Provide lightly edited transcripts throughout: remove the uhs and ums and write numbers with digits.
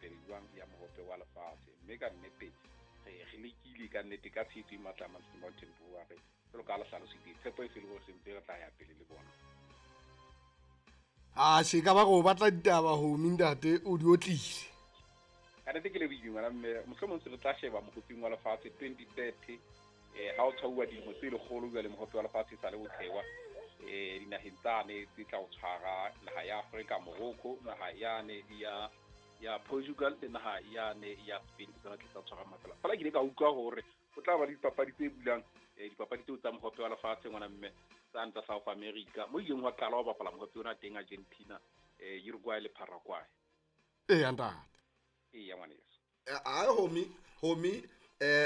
pele jwang ya mohope wa lefatshe. Mme ka nnete re lekile ka nnete ka tshehetso e matla Manchester Mountain Brewery jwalo ka ha le hlalositse, tshepo e se le hore sentse re tla ya pele le bona. A she ka ba go batla ditaba homi ntate o di otlile. Ka nnete ke lebohile ngwana mme, mohlomong se re tla sheba mohoping wa lefatshe 2030 ha o tshwauwa dilemo tse lekgolo jwale mohope wa lefatshe sa le o thewa dinaheng tsane tse tla o tshwara, naha ya Afrika, Morocco, naha yane ya Portugal le naha yane ya Spain, ke tsona tse tla tshwara mafela. Fela ke ile ka utlwa hore o tla ba le dipapadi tse bulang dipapadi tseo tsa mohope wa lefatshe ngwana mme, tsane tsa South America mo ileng wa qala ho bapala mohope ona teng, Argentina, Uruguay le Paraguay. Eya ntate. Eya ngwaneso. Ai homi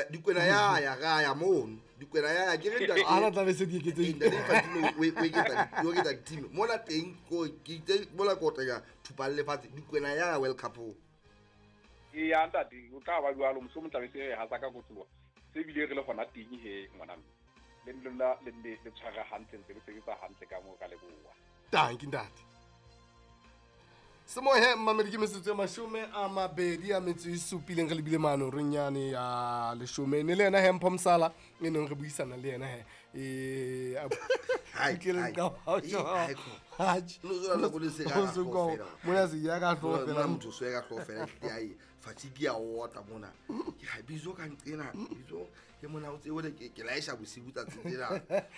dikwena ya ya ga ya mono dikwena ya ya ke re ntate Ana tla be se di eketsehile. Ntate Infantino o eketsa o eketsa team mona teng ko ke itse mola ko tla thupa le lefatshe dikwena ya ya World Cup. Eya ntate, o tla ba jwalo, mohlomong tla be se re hatsa ka kotloa. Se bile re le hona teng he ngwana mme. Le lona le nne le tshwara hantle, ntse le sebetsa hantle ka moo ka leboha. Tanki ntate. Semohe mmamedi ke metsotso e 27 re lebile mano reng yane ya leshome. Ne le yena he Mpho Mosala e neng re buisana le yena he. Hai, Ke le hai. ka ba Eh, tjho. hai, kho. Atjhe. No, no, no, no, se ka O se ka ka hlooho mona se ya ka hlooho Mona fela. motho se ka hlooho fela, ehlile ai, fatigue ya otla mona. Ke ha bizo ka nqena, bizo ke mona o tsebe ke laesha bosiu tsatsi lena.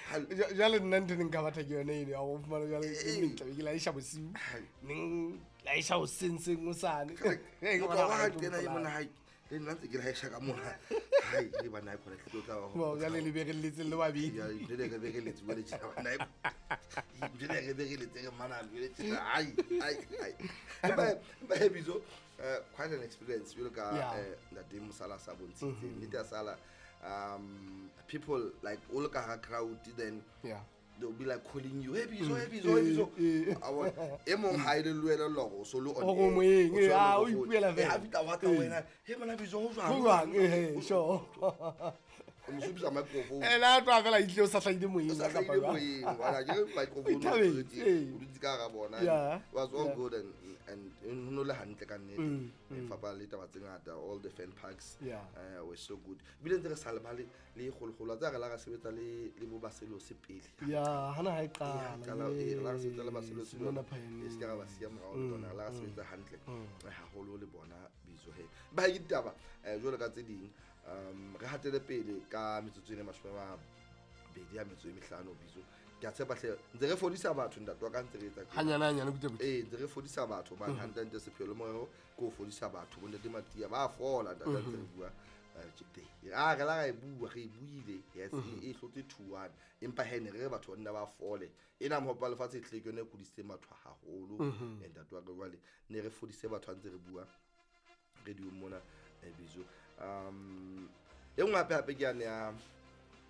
Ha Jwale nna ntho e neng ka batla ke yone eno ya ho fumana jwale Eh, ke eh. neng tlabe ke laesha bosiu. Hai. Neng laesha hoseng seng hosane. Ke Eh, ke motho bona wa ha ha ke nqena e tlo mona mpolaya. hai. Le nna ntse ke laesha ka mona. Hai, le bana e khona ke tlo tla ba ho. Bo, jwale le berelletse le babedi. Ya, le le re berelletse jwale tjena bana e. Jwale re berelletse re mana jwale tjena. Ai, ai, ai. Empa he bizo, quite an experience jwalo ka, Yeah. ntate Mosala sa bontshitse. Nnete ya sala, people like all ka hara crowd then Yeah. they'll be like calling you, hey Bizo, hey Bizo, hey Bizo. Eh. A bona, e mong ha e le lwele lore, o so le on O air, go moyeng, o so le eh, ah, o go phone. ipuela Eh, fela. ha fihla wa tla Eh. wena, hey mona Bizo, ho jwang? Ho jwang? Eh, eh, sure. O mo supisa microphone. Eh, la tloha fela itlile o sa hlahile moyeng, O sa kapa hlahile jwang? moyeng, wala, ke re microphone O ithabetse, o eh. o dutse ka hara bona. Yeah, It was all yeah. good and ho no le hantle ka nnete. Mm, E fapana le taba tse ngata, all the fan parks, Yeah. were so good. Ebile ntse re sa lebale le kgolokgolo, wa tseba re la ra sebetsa le bo Baselose pele. Yeah, hana ha e Eh, qala, qala, eh, re la ra sebetsa le Baselose Simona jwalo. Pioneer. E se ka ra ba siya morao le bona, re la ra sebetsa hantle, haholo le bona Bizo he. Ba ke ditaba, jwalo ka tse ding, re hatele pele ka metsotso e 25 Bizo. Ke a tshepa hle, ntse re fodisa batho ntate wa ka ntse re etsa tjena. Hanyane, hanyane, butle, butle. Eh, ntse re fodisa batho hobane hantle hantle sepheo le morero ke ho fodisa batho. Bo ntate Matia ba fola ntate ntse re bua. Tje teng. Ah, re la ra e bua, re e buile. Yes, e hlotse 2-1. Empa he ne re re batho ba nna ba fole. Ena mohope wa lefatshe e tlile ke yona e kudisitseng batho haholo. Eh, ntate wa ka jwale ne re fodise batho ha ntse re bua radio mona, Bizo. E nngwe hape hape ke yane ya,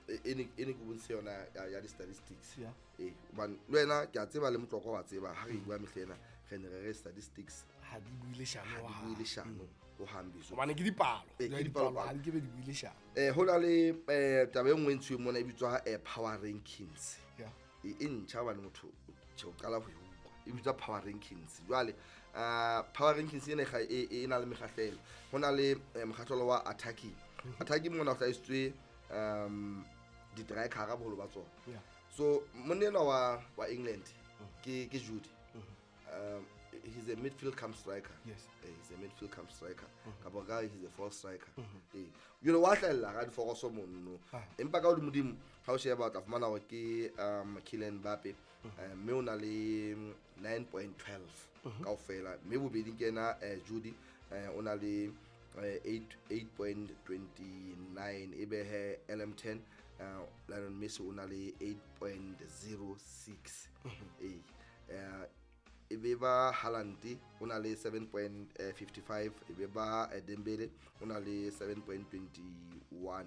e ne, e ne ke bontshe yona ya di-statistics. Yeah. Eh, hobane le wena ke a tseba le Motlokwa wa tseba, ha re bua mehla ena, re ne re re statistics Ha di bue leshano ha di hohang. bue leshano hohang, Bizo. Hobane ke dipalo. Eh, ke Jwale dipalo, dipalo palo. ha di ke be di bue leshano. Ho na le, taba e nngwe e ntshuweng mona e bitswa, power rankings. Yeah. E ntjha hobane motho tjhe, o qala ho e utlwa. E bitswa power rankings. Jwale, power rankings ena e na le mekgahlelo. Ho na le, mokgahlelo wa attacking. Attacking mona ho hlahisitswe, di-striker boholo ba tsona. Yeah. So monna enwa wa England ke Jude. He's a midfield come striker. Yes. He's a midfield come striker. Kapa ka he's a false striker. You know, wa hlahella ka diforoso mono. Empa ka hodimodimo ha o sheba o tla fumana hore ke, Kylian Mbappe. Mme o na le 9.12 kaofela. Mme bobedi ke ena, Jude, o na le, 8.29. Ebe he LM10, Lionel Messi o na le 8.06. E be ba Haaland o na le 7.55, e be ba Dembele o na le 7.21.